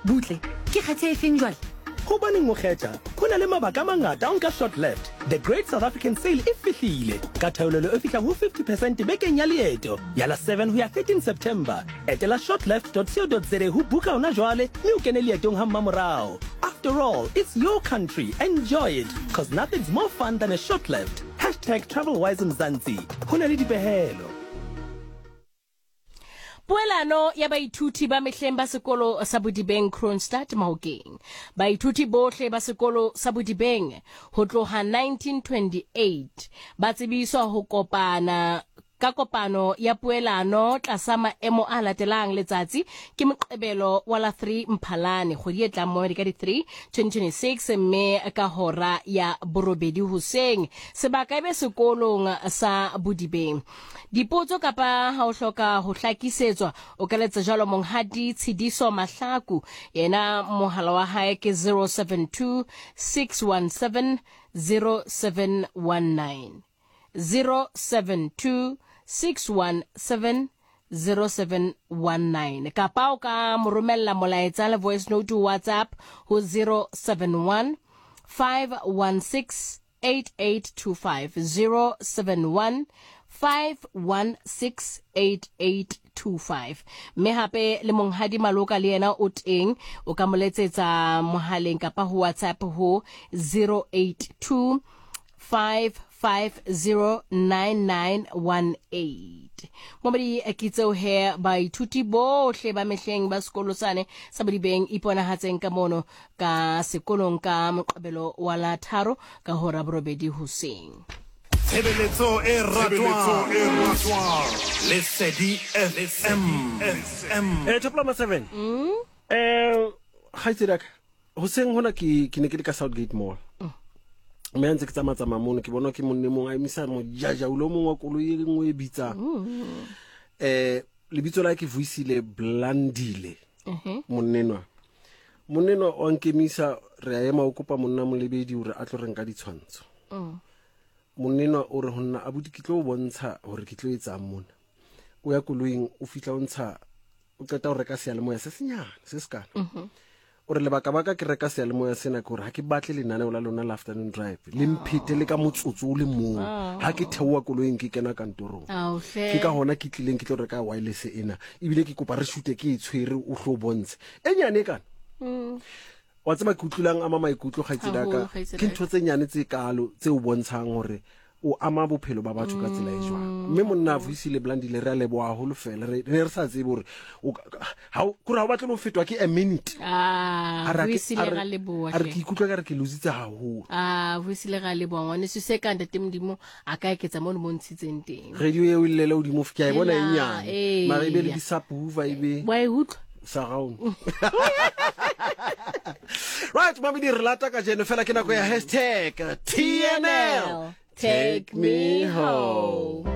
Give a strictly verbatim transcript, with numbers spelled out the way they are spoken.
Butle, ke kgethe e feng jwale? Hobaneng o kgetha? Ho na le mabaka a mangata a ho nka Short Left. The Great South African Sale e fihlile ka theolelo e fihlang ho fifty percent bekeng ya leeto ya la seven ho ya thirteen September. Etela shortleft dot co dot za ho buka hona jwale mme o kene leetong ha mmamorao. After all, it's your country. Enjoy it, 'cause nothing's more fun than a short left. Hashtag TravelWise Mzansi. Ho na le dipehelo. Poelano ya baithuti ba mehleng ba sekolo sa Bodibeng Kroonstad Mahokeng. Baithuti bohle ba sekolo sa Bodibeng ho tloha nineteen twenty-eight ba tsebiswa ho kopana ka kopano ya poelano tlasa maemo a latelang. Letsatsi ke Moqebelo wa la three Mphalane kgwedi e tlang mo ka di three twenty twenty-six mme ka hora ya borobedi hoseng. Sebaka ebe sekolong sa Bodibeng. Dipotso kapa ha o hloka ho hlakisetswa o ka letsa jwalo Monghadi Tshidiso Mahlaku, yena mohala wa hae ke zero seven two six one seven zero seven one nine. zero seven two six one seven zero seven one nine kapa o ka mo romella molaetsa le voice note WhatsApp ho zero seven one five one six eight eight two five, zero seven one five one six eight eight two five. Mme hape le Monghadi Maloka le yena o teng, o ka mo letsetsa mohaleng kapa ho WhatsApp ho zero eight two five five zero nine nine one eight. Momedi ke tseo he baithuti bohle ba mehleng ba sekolo sane sa Bodibeng iponahatseng ka mono ka sekolong ka Moqebelo wa la tharo ka hora borobedi hoseng. Tshebeletso e ratwang Lesedi F M. Eh, Top seven. Eh, kgaitsedi ka hoseng hona ke ke ne ke le ka Southgate Mall. Mme a ntse ke tsamaya tsamaya mono ke bona ke monne mong a emisa mojaja o mong wa koloi e nngwe e bitsang. Eh, lebitso la ke Vuyisile Blandile. Monnenwa. Monnenwa o nkemisa re a ema o kopa monna molebedi hore a tlo re nka ditshwantsho. Monnenwa o re ho nna abuti ke tlo o bontsha hore ke tlo etsang mona. O ya koloing o fihla o ntsha o qeta ho reka seyalemoya se senyane se sekana. O re lebaka baka ke reka seyalemoya sena ke hore ha ke batle lenaneo la lona la afternoon drive le mphete le ka motsotso o le mong ha ke theoha koloing ke kena kantorong. Ke ka hona ke tlileng ke tlo reka wireless ena ebile ke kopa re shute ke e tshwere o hlo bontshe e nyane e kana. Wa tseba ke utlwilang ama maikutlo kgaitsedi ka ke ntho tse nyane tse kalo tse o bontshang hore o ama bophelo ba batho ka tsela e jwang. Mme monna Vuyisile Blandile re a leboha haholo fela re ne re sa tsebe hore ha kore ha o batle ho fetwa ke a minute. Ah, Vuyisile ga leboha. A re ke ikutlwa ka re ke lositse haholo. Ah, Vuyisile ga leboha ngwaneso se ka ntate Modimo a ka eketsa mo mo ntshitseng teng. Radio eo e llele hodimo ke a e bona e nyane. Mara ebe le di-subwoofer ebe. Wa e utlwa? Surround. Right, mami di re lata kajeno fela ke nako ya hashtag T N L. Take me home.